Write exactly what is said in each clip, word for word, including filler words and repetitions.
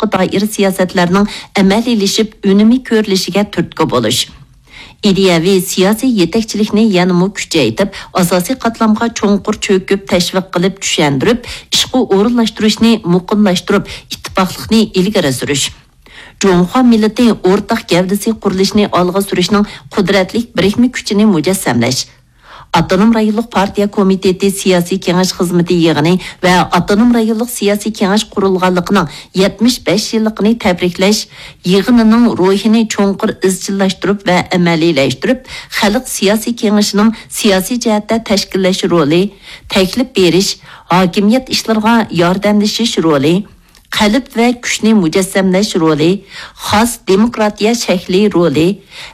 دائىر سىياسەتلەرنىڭ ئەمەلىيلىشىپ، ئۈنۈمى كۆرۈلۈشىگە تۈرتكە بولۇش. ئىدىيەۋى سىياسىي يېتەكچىلىكنى يەنىمۇ كۈچەيتىپ، ئاساسىي قاتلامغا چوڭقۇر چۆكۈپ، تەشۋىق قىلىپ، چۈشەندۈرۈپ، ئىشقا ئورۇنلاشتۇرۇشنى مۇقىملاشتۇرۇپ، ئىتتىپاقلىقنى ئىلگىرى سۈرۈش. جۇڭخۇا مىللىتى ئورتاق گەۋدىسى قۇرۇلۇشىنى ئالغا سۈرۈشنىڭ قۇدرەتلىك بىرىكمە كۈچىنى مۇجەسسەملەش. ئاپتونوم رايونلۇق پارتىيە كومىتېتى سىياسىي كېڭەش خىزمىتى يىغىنى ۋە ئاپتونوم رايونلۇق سىياسىي كېڭەش قۇرۇلغانلىقىنىڭ يەتمىش بەش يىللىقىنى تەبرىكلەش يىغىنىنىڭ روھىنى چوڭقۇر ئىزچىللاشتۇرۇپ ۋە ئەمەلىيلەشتۈرۈپ، خەلق سىياسىي كېڭىشىنىڭ سىياسىي جەھەتتە تەشكىللەش رولى، تەكلىپ بېرىش، ھاكىمىيەت ئىشلىرىغا ياردەملىشىش رولى، قەلب ۋە كۈچنى مۇجەسسەملەش رولى، خاس دېموكراتىيە شەكلى رولى،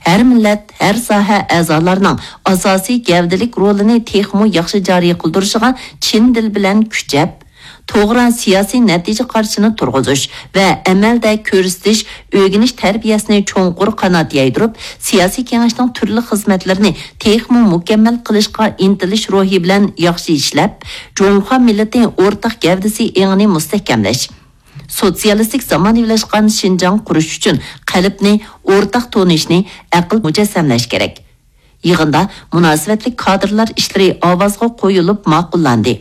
ھەر مىللەت، ھەر ساھە ئەزالارنىڭ ئاساسىي گەۋدىلىك رولىنى تېخىمۇ ياخشى جارى قىلدۇرۇشىغا چىن دىل بىلەن كۈچەپ، توغرا سىياسىي نەتىجە قارىشىنى تۇرغۇزۇش ۋە ئەمەلدە كۆرسىتىش، ئۆگىنىش تەربىيەسىنى چوڭقۇر قانات يايدۇرۇپ، سىياسىي كېڭەشنىڭ تۈرلۈك خىزمەتلىرىنى تېخىمۇ مۇكەممەل قىلىشقا ئىنتىلىش روھى بىلەن ياخشى ئىشلەپ، جۇڭخۇا مىللىتى ئورتاق گەۋدىسى ئېڭىنى مۇستەھكەملەش، سوتسىيالىستىك زامانىۋىلاشقان شىنجاڭ قۇرۇش ئۈچۈن قەلبنى، ئورتاق تونۇشنى، ئەقىل مۇجەسسەملەش كېرەك. يىغىندا مۇناسىۋەتلىك كادىرلار ئىشلىرى ئاۋازغا قويۇلۇپ ماقۇللاندى.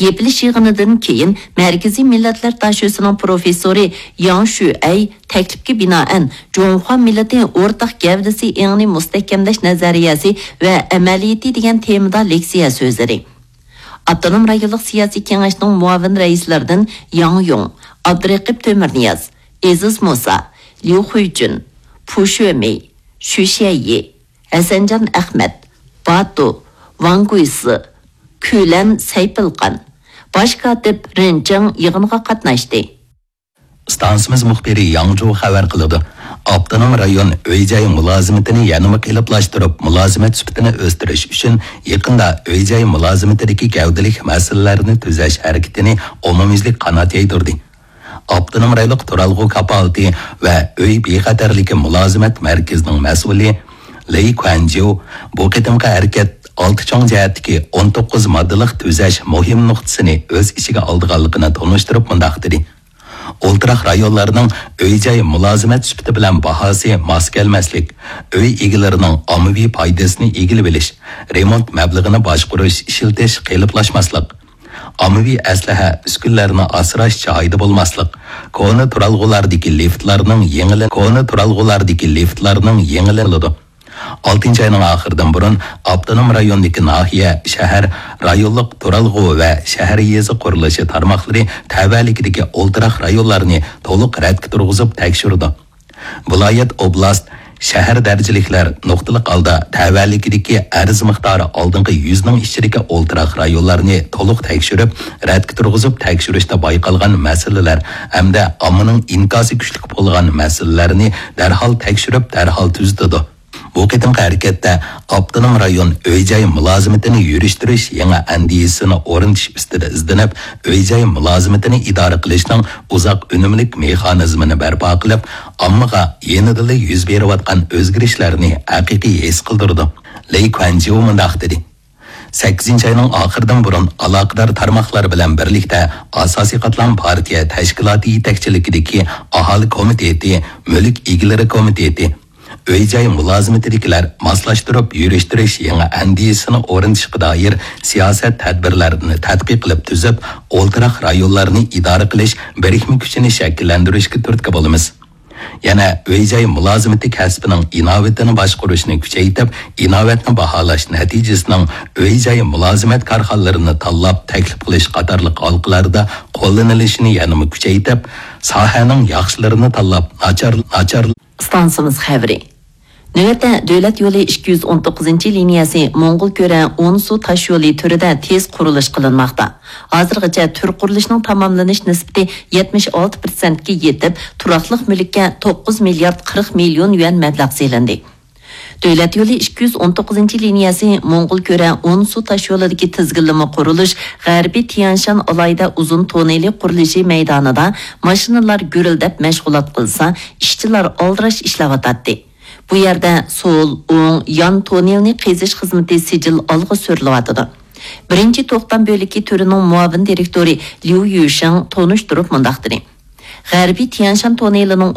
يېپىلىش يىغىنىدىن كېيىن مەركىزىي مىللەتلەر داشۆسىنىڭ پروفېسسورى ياڭ شۈئەي تەكلىپكە بىنائەن، جۇڭخۇا مىللىتى ئورتاق گەۋدىسى ئېڭىنى مۇستەھكەملەش نەزەرىيەسى ۋە ئەمەلىيىتى دېگەن تېمىدا لېكسىيە سۆزلىدى. ئاپتونوم رايونلۇق سىياسىي كېڭەشنىڭ مۇئاۋىن رەئىسلىرىدىن ياڭ يۇڭ، ئابدۇرېقىپ تۆمۈرنىياز، ئېزىز مۇسا، ليۇ خۇيجۈن، پۇ شۆمېي، شۈ شيەيي، ھەسەنجان ئەخمەت، باتۇ، ۋاڭ گۇيسى، كۈلەن سەيپىلقان، باش كاتىپ رېن جېڭ يىغىنغا قاتناشتى. ئىستانسىمىز مۇخبىرى ياڭ جۇ خەۋەر قىلىدۇ. ئاپتونوم رايون ئۆي-جاي مۇلازىمىتىنى يەنىمۇ قېلىپلاشتۇرۇپ، مۇلازىمەت سۈپىتىنى ئۆستۈرۈش ئۈچۈن يېقىندا ئۆي-جاي مۇلازىمىتىدىكى گەۋدىلىك مەسىلىلەرنى تۈزەش ھەرىكىتىنى ئومۇميۈزلۈك قانات يايدۇردى. ئاپتونوم رايونلۇق تۇرالغۇ كاپالىتى ۋە ئۆي بىخەتەرلىكى مۇلازىمەت مەركىزىنىڭ مەسئۇلى لېي كۇەنجيۇ بۇ قېتىمقى ھەرىكەت ئالتە چوڭ جەھەتتىكى ئون توققۇز ماددىلىق تۈزەش مۇھىم نۇقتىسىنى ئۆز ئىچىگە ئالىدىغانلىقىنى تونۇشتۇرۇپ مۇنداق دېدى: ئولتۇراق رايونلارنىڭ ئۆي-جاي مۇلازىمەت سۈپىتى بىلەن باھاسى ماس كەلمەسلىك، ئۆي ئىگىلىرىنىڭ ئاممىۋى پايدىسىنى ئىگىلىۋېلىش، رېمونت مەبلىغىنى باشقۇرۇش، ئىشلىتىش قېلىپلاشماسلىق، ئاممىۋى ئەسلىھە، ئۈسكۈنىلەرنى ئاسراش جايىدا بولماسلىق، كونا تۇرالغۇلاردىكى لىفتلارنىڭ يېڭىلىنى، كونا تۇرالغۇلاردىكى لىفتلارنىڭ يېڭىلىنىدۇ. ئالتىنچى ئاينىڭ ئاخىرىدىن بۇرۇن ئاپتونوم رايوندىكى ناھىيە، شەھەر، رايونلۇق تۇرالغۇ ۋە شەھەر يېزا قۇرۇلۇشى تارماقلىرى تەۋەلىكىدىكى ئولتۇراق رايونلارنى تولۇق رەتكە تۇرغۇزۇپ تەكشۈرىدۇ. ۋىلايەت، ئوبلاست، شەھەر دەرىجىلىكلەر نۇقتىلىق ھالدا تەۋەلىكىدىكى ئەرز مىقدارى ئالدىنقى يۈزنىڭ ئىچىدىكى ئولتۇراق رايونلارنى تولۇق تەكشۈرۈپ، رەتكە تۇرغۇزۇپ تەكشۈرۈشتە بايقالغان مەسىلىلەر ھەمدە ئاممىنىڭ ئىنكاسى كۈچلۈك بولغان مەسىلىلەرنى دەرھال تەكشۈرۈپ، دەرھال تۈزىتىدۇ. بۇ قېتىمقى ھەرىكەتتە ئاپتونوم رايون ئۆي-جاي مۇلازىمىتىنى يۈرۈشتۈرۈش يېڭى ئەندىزىسىنى ئورنىتىش ئۈستىدە ئىزدىنىپ، ئۆي-جاي مۇلازىمىتىنى ئىدارە قىلىشنىڭ ئۇزاق ئۈنۈملۈك مېخانىزمىنى بەرپا قىلىپ، ئاممىغا يېنىدىلا يۈز بېرىۋاتقان ئۆزگىرىشلەرنى ھەقىقىي ھېس قىلدۇرىدۇ. لېي كۇەنجيۇ مۇنداق دېدى: سەككىزىنچى ئاينىڭ ئاخىرىدىن بۇرۇن ئالاقىدار تارماقلار بىلەن بىرلىكتە ئاساسىي قاتلام پارتىيە تەشكىلاتى يېتەكچىلىكىدىكى ئاھالە كومىتېتى، مۈلۈك ئىگىلىرى كومىتېتى، ئۆي-جاي مۇلازىمىتىدىكىلەر ماسلاشتۇرۇپ يۈرۈشتۈرۈش يېڭى ئەندىزىسىنى ئورنىتىشقا دائىر سىياسەت تەدبىرلەرنى تەتقىق قىلىپ تۈزۈپ، ئولتۇراق رايونلارنى ئىدارە قىلىش بىرىكمە كۈچىنى شەكىللەندۈرۈشكە تۈرتكە بولىمىز. يەنە ئۆي-جاي مۇلازىمىتى كەسپىنىڭ ئىناۋىتىنى باشقۇرۇشنى كۈچەيتىپ، ئىناۋەتنى باھالاش نەتىجىسىنىڭ ئۆي-جاي مۇلازىمەت كارخانىلىرىنى تاللاپ تەكلىپ قىلىش قاتارلىق ھالقىلاردا قوللىنىلىشىنى يەنىمۇ كۈچەيتىپ، ساھەنىڭ ياخشىلىرىنى تاللاپ، ناچار، ناچار ئىستانسىمىز خەۋىرى. نۆۋەتتە دۆلەت يولى ئىككى يۈز ئون توققۇزىنچى لىنىيەسى موڭغۇلكۆرە ئونسۇ تاشيولى تۈرىدە تېز قۇرۇلۇش قىلىنماقتا. ھازىرغىچە تۈر قۇرۇلۇشىنىڭ تاماملىنىش نىسبىتى يەتمىش ئالتە پىرسەنتكە يېتىپ، تۇراقلىق مۈلۈككە توققۇز مىليارد قىرىق مىليون يۈەن مەبلەغ سېلىندى. دۆلەت يولى ئىككى يۈز ئون توققۇزىنچى لىنىيەسى موڭغۇلكۆرە ئونسۇ تاشيولىدىكى تىزگىنلىمە قۇرۇلۇش غەربىي تيەنشان ئالاھىدە ئۇزۇن توننېلى قۇرۇلۇشى مەيدانىدا ماشىنىلار گۈرۈلدەپ مەشغۇلات قىلسا، ئىشچىلار ئالدىراش ئىشلەۋاتاتتى. بۇ يەردە سول، ئوڭ، يان توننېلنى قېزىش خىزمىتى سىجىل ئالغا سۈرۈلۈۋاتىدۇ. بىرىنچى توختام بۆلىكى تۈرىنىڭ مۇئاۋىن دىرېكتورى ليۇ يۈشېڭ تونۇشتۇرۇپ مۇنداق دېدى: غەربىي تيەنشان توننېلىنىڭ